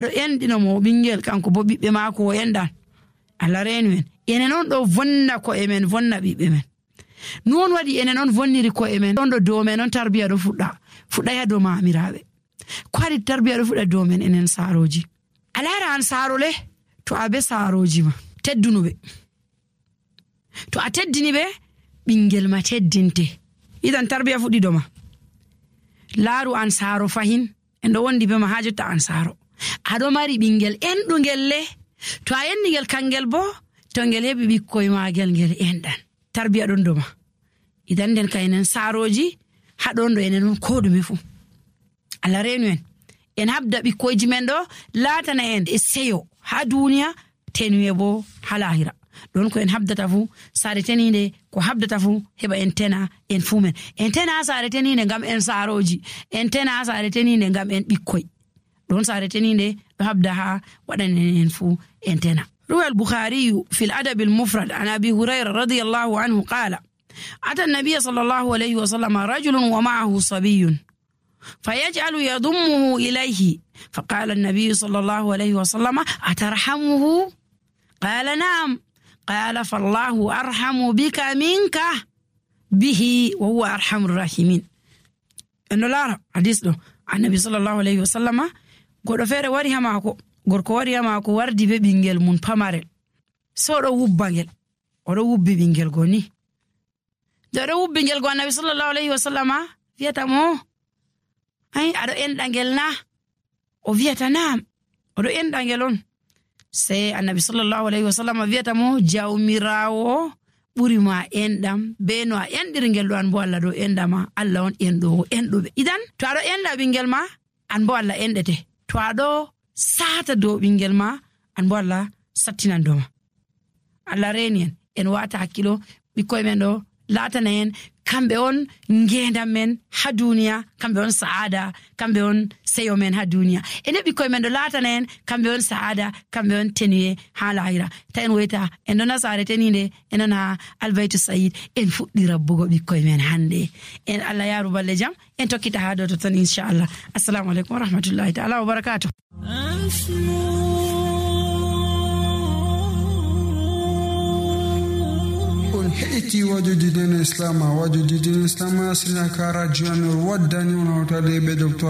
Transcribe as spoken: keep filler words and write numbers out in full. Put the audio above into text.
Ɗo enɗino mo ɓinngel, kanko bo ɓiɓɓe maako o enɗan. Allah reenu en. Enen on ɗo vonna ko'e men, vonna ɓiɓɓe men. Noon waɗi enen on vonniri ko'e men, on ɗo dow men on tarbiya ɗo fuɗɗa, fuɗɗa ya dow maamiraaɓe. Ko haɗi tarbiya ɗo fuɗɗa dow men enen saarooji. A laara an saaro le, to a be saarooji ma, teddunu ɓe. To a teddini ɓe, ɓinngel ma teddinte. Idan tarbiya fuɗɗi dow ma. Laaru an saaro fahin, en ɗo wondi be ma haa jotta an saaro. A ɗo mari ɓinngel enɗungel le. To a enɗi ngel kangel bo, to ngel heɓi ɓikkoy maagel ngel enɗan. Tarbiya ɗon dow ma. Idan nden ka enen saarooji, haa ɗon ɗo enen on koo ɗume fuu. Allah reenu en. En habda ɓikkoyji men ɗo laatana en e seyo haa duuniya, tenuye bo haa laahira. Ɗon ko en habdata fuu, saare teniinde ko habdata fuu, heɓa en tena en fuu men. En tena haa saare teniinde ngam en saarooji. En tena haa saare teniinde ngam en ɓikkoy. Ɗon saare teniinde ɗo habda haa waɗanen en fuu en tena. روى البخاري في الأدب المفرد عن أبي هريرة رضي الله عنه قال: أتى النبي صلى الله عليه وسلم رجل ومعه صبي فيجعل يضمه إليه، فقال النبي صلى الله عليه وسلم: أترحمه؟ قال: نعم. قال: فالله أرحم بك منك به، وهو أرحم الراحمين. En ɗo laara hadis ɗo, Annabi sallallahu alayhi wa sallama, goɗɗo feere wari haa maako, gorko wari haa maako, wardi be ɓinngel mum pamarel. So o ɗo wubba ngel, o ɗo wubbi ɓinngel go ni. Nde o ɗo wubbi ngel go, Annabi sallallahu alayhi wa sallama wiyata mo, "Ay, aɗo enɗa ngel na?" O wiyata, "Naam." O ɗo enɗa ngel on. Sey Annabi sallallahu alayhi wa sallama wiyata mo, "Jawmiraawo ɓuri ma enɗam, be no a enɗiri ngel ɗo, an bo Allah ɗo enɗa ma, Allah on enɗoowo enɗuɓe." Idan, to aɗo enɗa ɓinngel ma, an bo Allah enɗete. To aɗo saata dow ɓinngel ma, an bo Allah sattinan dow ma. Allah reeni en, en waata hakkilo, ɓikkoy men ɗo laatana en, kamɓe on ngeendam men haa duuniya, kamɓe on sa'aada, kamɓe on seyo men haa duuniya. En ɓikkoy men ɗo laatana en, kamɓe on sa'aada, kamɓe on tenuye haa laahira. Ta en woyta, en ɗo na saare teniinde, en ɗo na Albaytu Sayid, en fuɗɗi rabbugo ɓikkoy men hannde. En Allah yaaru balle jam, en tokkita haa dow totton, inchallah. Assalamu aleykum wa rahmatullahi ta'ala wa barakatuh. On heɗiti wajuji dina Islam, wajuji dina Islam, sina ka radio Anur waddani on hawtade be docteur